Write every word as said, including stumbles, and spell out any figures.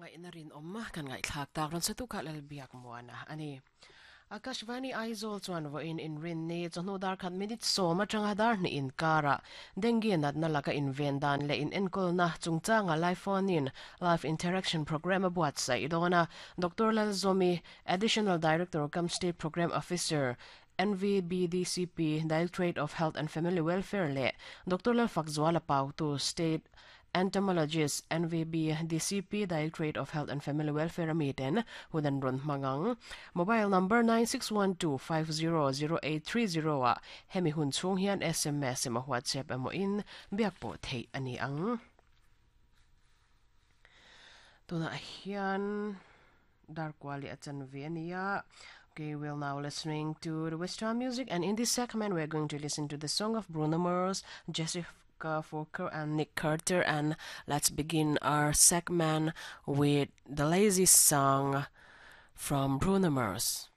Hmangaihna rinawm kan ngaihthlak tak rawn satu kha Lalbiak Muana ani. Akashvani Aizawl chuan vawiin inrinni chawhnu dar khat minute sawm atanga dar hnih inkara dengue natna laka inven dan leh in enkawlna chungchanga live phone in live interaction program a buatsaih dawn a. Doctor Lalzomi, Additional Director cum State Program Officer N V B D C P, Directorate of Health and Family Welfare leh Doctor Lalfakzuala Pautu, State Entomologist N V B D C P, Directorate of Health and Family Welfare amiten hudan ron mangang. Mobile number nine six one two five zero zero eight three zero a hemi hun chung hian S M S emaw WhatsApp emaw in biak pawh theih ani ang. Tuna hian dar kwali achan ve ania. Okay, we're now listening to the Western music, and in this segment, we're going to listen to the song of Bruno Mars, Jessica Folker, and Nick Carter. And let's begin our segment with the Lazy Song from Bruno Mars.